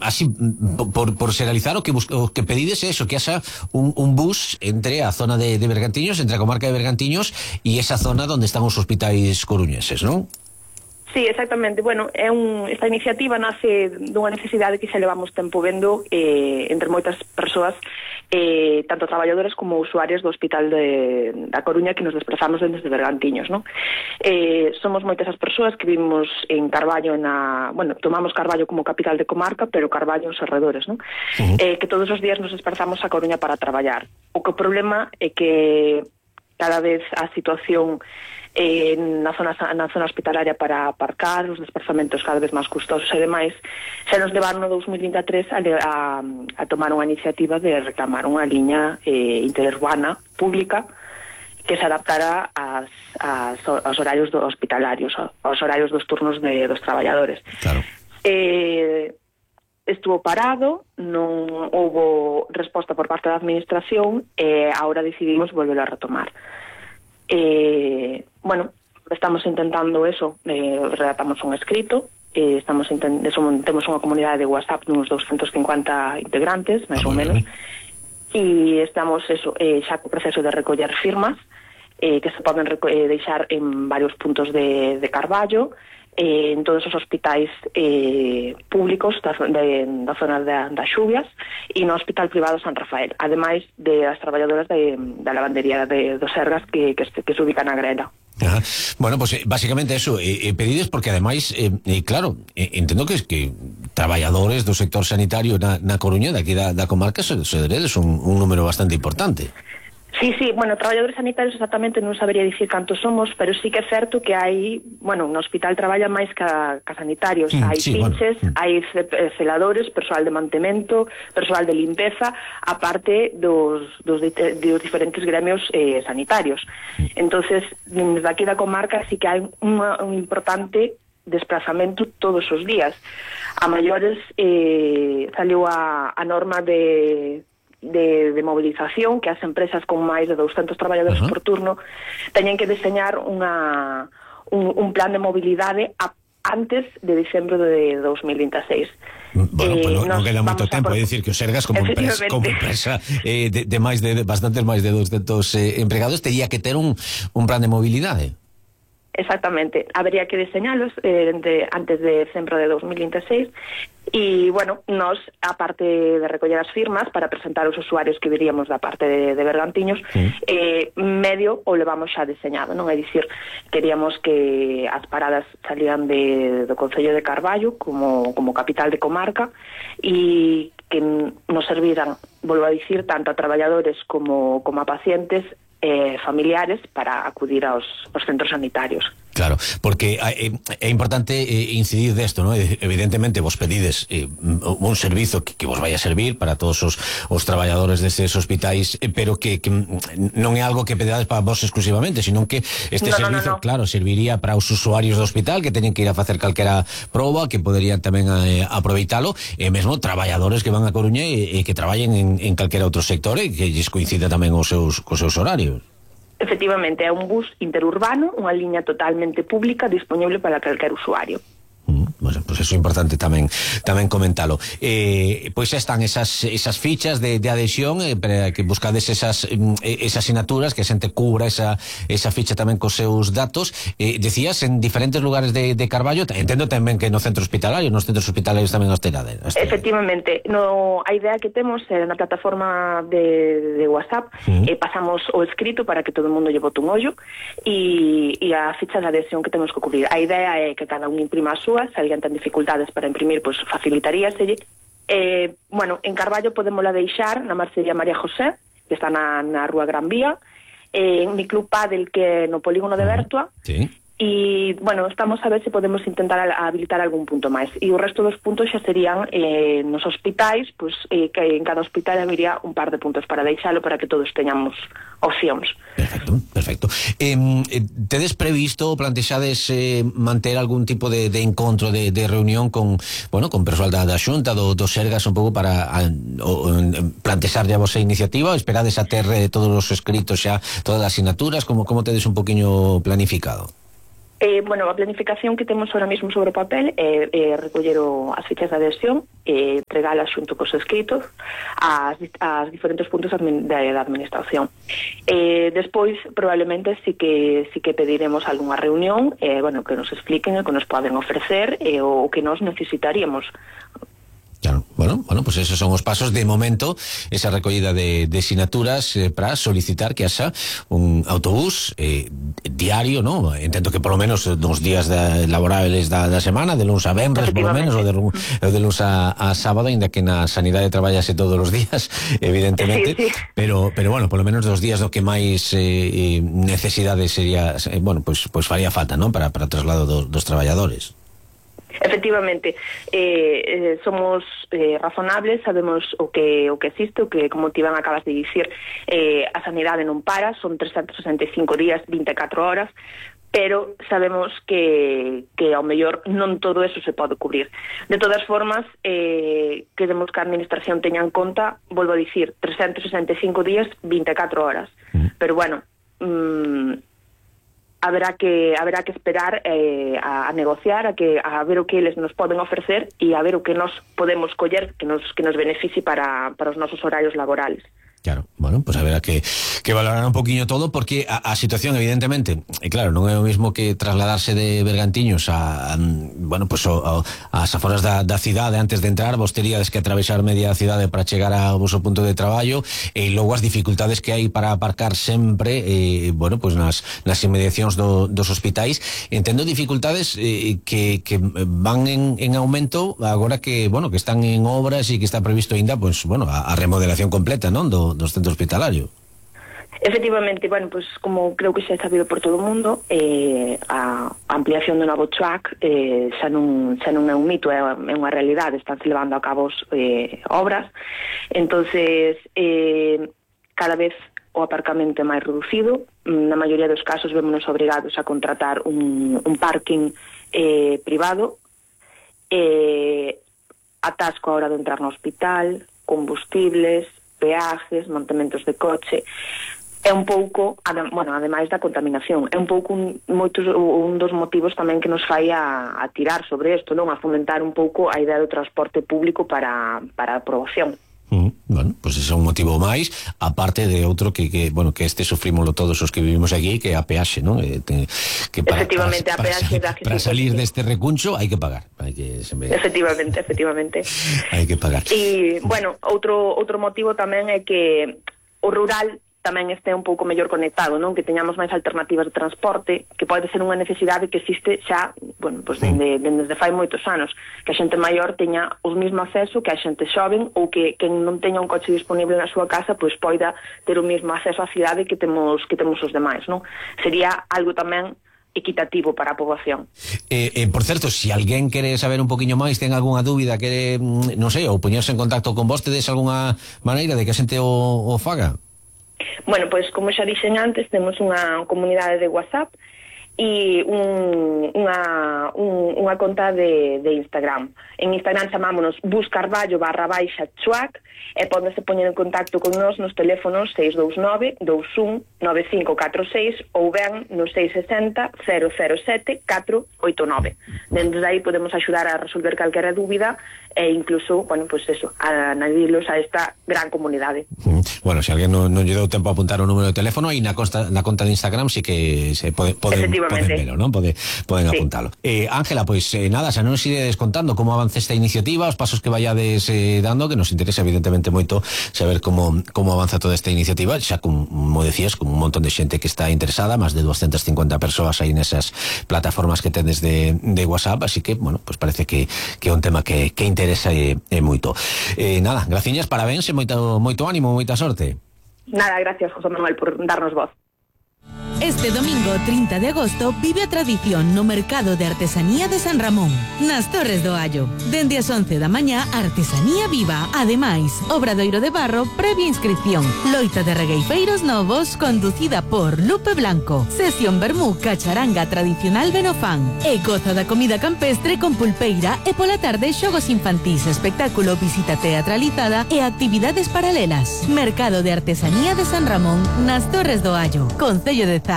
así, por xeralizar, o que pedides é eso, que haxa un bus entre a zona de Bergantiños, entre a comarca de Bergantiños e esa zona onde están os hospitais coruñeses, non? Sí, exactamente. Bueno, esta iniciativa nace dunha necesidade que xa levamos tempo vendo entre moitas persoas, tanto traballadores como usuarios do Hospital da Coruña, que nos desplazamos desde Bergantiños, non? Somos moitas as persoas que vivimos en Carballo, tomamos Carballo como capital de comarca, pero Carballo os arredores, non? Que todos os días nos desplazamos a Coruña para traballar. O problema é que cada vez a situación na zona hospitalaria para aparcar, os desplazamentos cada vez máis custosos e demais, xa nos levaron no 2023 a tomar unha iniciativa de reclamar unha liña interurbana pública que se adaptara aos horarios hospitalarios, aos horarios dos turnos dos traballadores. Claro. Estuvo parado, non houbo resposta por parte da administración e agora decidimos volver a retomar. Bueno, estamos intentando eso, redactamos un escrito, temos unha comunidade de WhatsApp de uns 250 integrantes, máis ou menos, e estamos xa co proceso de recoller firmas que se poden deixar en varios puntos de Carballo, en todos os hospitais públicos da zona das Xubias e no Hospital Privado San Rafael, ademais de as traballadoras da lavandería dos Sergas que se ubican na Grela. Ajá. Bueno, pues básicamente eso, pedides porque ademais, claro, entendo que traballadores do sector sanitario na Coruña, daqui da comarca, se deredes un número bastante importante. Sí, bueno, traballadores sanitarios exactamente non sabería dicir cantos somos, pero sí que é certo que hai, bueno, no hospital traballa máis que sanitarios, hai pinches, hai celadores, persoal de mantemento, persoal de limpeza, aparte dos diferentes gremios sanitarios. Entonces, desde aquí da comarca sí que hai un importante desplazamento todos os días. A maiores saliu a norma de movilización, que as empresas con máis de 200 traballadores por turno teñen que deseñar un plan de mobilidade antes de diciembre de 2026. Bueno, pues non queda moito tempo, é dicir que o Sergas como empresa de bastantes máis de 200 empregados tería que ter un plan de mobilidade. Exactamente, habría que diseñalos antes de decembro de 2026 e, bueno, nós, aparte de recoller as firmas para presentar os usuarios que viríamos da parte de Bergantiños, medio o levamos xa diseñado, non? É dicir, queríamos que as paradas salían do Concello de Carballo como capital de comarca e que nos serviran, volvo a dicir, tanto a traballadores como a pacientes familiares para acudir aos centros sanitarios. Claro, porque é importante incidir desto, ¿no? Evidentemente vos pedides un servizo que vos vai a servir para todos os traballadores destes hospitais, pero que non é algo que pedades para vos exclusivamente, sino que este servizo, claro, serviría para os usuarios do hospital que teñen que ir a facer calquera proba, que poderían tamén aproveitalo, e mesmo traballadores que van a Coruña e que traballen en calquera outro sector e que lles coincida tamén cos seus horarios. Efectivamente, é un bus interurbano, unha liña totalmente pública disponible para calquer usuario. Bueno, pues eso é importante tamén comentalo. Pois xa están esas fichas de adhesión para que buscades esas asignaturas, que a xente cubra esa ficha tamén cos seus datos. Decías en diferentes lugares de Carballo, entendo tamén que no centro hospitalario, nos centros hospitalarios tamén os terades. Efectivamente, a idea que temos na plataforma de WhatsApp, pasamos o escrito para que todo o mundo lle bote un ollo e a ficha de adhesión que temos que cubrir. A idea é que cada un imprima a súa, se alguén ten dificultades para imprimir, pois facilitaríaselle. Bueno, en Carballo podémola deixar na Marcellería María José, que está na Rúa Gran Vía, en mi club Padel, que é no polígono de Bertua, e, bueno, estamos a ver se podemos intentar habilitar algún punto máis. E o resto dos puntos xa serían nos hospitais, pois que en cada hospital habería un par de puntos para deixalo para que todos teñamos opcións. Perfecto. Tedes previsto, plantexades manter algún tipo de encontro, de reunión con persoal da Xunta, do Sergas, un pouco para plantexar a vosa iniciativa? Esperades a ter todos os escritos xa, todas as asignaturas? Como tedes un poquinho planificado? Bueno, a planificación que temos ahora mesmo sobre o papel é recoller as fichas de adhesión e entregalas xunto cos escritos ás diferentes puntos da administración. Despois, probablemente, sí que pediremos algunha reunión, bueno, que nos expliquen o que nos poden ofrecer o que nos necesitaríamos. Claro, bueno, pues esos son os pasos de momento, esa recollida de sinaturas para solicitar que haxa un autobús diario, ¿no? Entendo que polo menos nos días laborables da semana, de luns a venres polo menos, ou de luns a sábado, ainda que na sanidade traballase todos os días, evidentemente, sí. Pero bueno, polo menos dos días do que máis necesidade sería, bueno, pues faría falta, ¿no? Para o traslado dos traballadores. Efectivamente, somos razonables, sabemos o que existe, o que, como te Iván acabas de dicir, a sanidade non para, son 365 días, 24 horas, pero sabemos que ao mellor non todo eso se pode cubrir. De todas formas, queremos que a administración teña en conta, volvo a dicir, 365 días, 24 horas, pero bueno, haberá que esperar a negociar, a ver o que eles nos poden ofrecer e a ver o que nos podemos coller que nos beneficie para os nosos horarios laborales. Claro, bueno, pues haberá que valorar un poquinho todo, porque a situación, evidentemente, claro, non é o mismo que trasladarse de Bergantiños bueno, pues ás aforas da cidade antes de entrar. Vos teríades que atravesar media cidade para chegar ao vosso punto de traballo, e logo as dificultades que hai para aparcar sempre, bueno, pues nas inmediacións dos hospitais. Entendo dificultades que van en aumento agora que, bueno, que están en obras e que está previsto ainda, pues, bueno, a remodelación completa, non, do centro hospitalario. Efectivamente, bueno, pues como creo que xa é sabido por todo o mundo, a ampliación do novo track xa non é un mito, é unha realidade, están se levando a cabo obras, entonces cada vez o aparcamento é máis reducido, na maioría dos casos vémonos obrigados a contratar un parking privado, atasco a hora de entrar no hospital, combustibles, peajes, mantamentos de coche. É un pouco, bueno, ademais da contaminación, é un pouco un dos motivos tamén que nos fai a tirar sobre isto, non? A fomentar un pouco a idea do transporte público para a aprobación. Bueno, pues ese é un motivo máis, aparte de outro que bueno, que sufrímoslo todos os que vivimos aquí, que é a peaxe, non? Que efectivamente, a peaxe para salir deste recuncho hai que pagar. Efectivamente. Hai que pagar. E, bueno, outro motivo tamén é que o rural tamén este un pouco mellor conectado, non? Que teñamos máis alternativas de transporte, que pode ser unha necesidade que existe xa, bueno, pues desde fai moitos anos, que a xente maior teña o mesmo acceso que a xente xoven, ou que non teña un coche disponible na súa casa, pois poida ter o mesmo acceso á cidade que temos os demais, non? Sería algo tamén equitativo para a poboación. Por certo, se alguén quere saber un poquinho máis, ten algunha dúbida, quere, non sei, ou poñerse en contacto con vos, tedes algunha maneira de que a xente o faga? Bueno, pois como xa dixen antes, temos unha comunidade de WhatsApp e unha conta de Instagram. En Instagram chamámonos buscarballo_chuac e pódense poñer en contacto con nós nos teléfonos 629 21 9546 ou ben no 660 007 489. Dende aí podemos axudar a resolver calquera dúbida e incluso, bueno, pues eso, a añadilos a esta gran comunidade. Bueno, se alguén non lle deu tempo a apuntar o número de teléfono, e na conta de Instagram sí que se poden velo, non? Poden sí. Apuntalo. Ángela, pois nada, xa non nos iredes contando como avance esta iniciativa, os pasos que vayades dando, que nos interesa evidentemente moito saber como avanza toda esta iniciativa, xa como decías, con un montón de xente que está interesada, máis de 250 persoas aí nesas plataformas que tedes de WhatsApp, así que, bueno, pues parece que é un tema que interesa moito. Nada, graciñas, parabéns e moito ánimo, moita sorte. Nada, gracias, José Manuel, por darnos voz. Este domingo 30 de agosto vive a tradición no Mercado de Artesanía de San Ramón, nas Torres do Allo. Dende as 11 da mañá, artesanía viva. Ademais, obradoiro de barro previa inscripción. Loita de regueifeiros novos conducida por Lupe Blanco. Sesión vermú cacharanga tradicional Benofán. E goza da comida campestre con pulpeira e pola tarde xogos infantís, espectáculo, visita teatralizada e actividades paralelas. Mercado de Artesanía de San Ramón, nas Torres do Allo, Concello de Zas.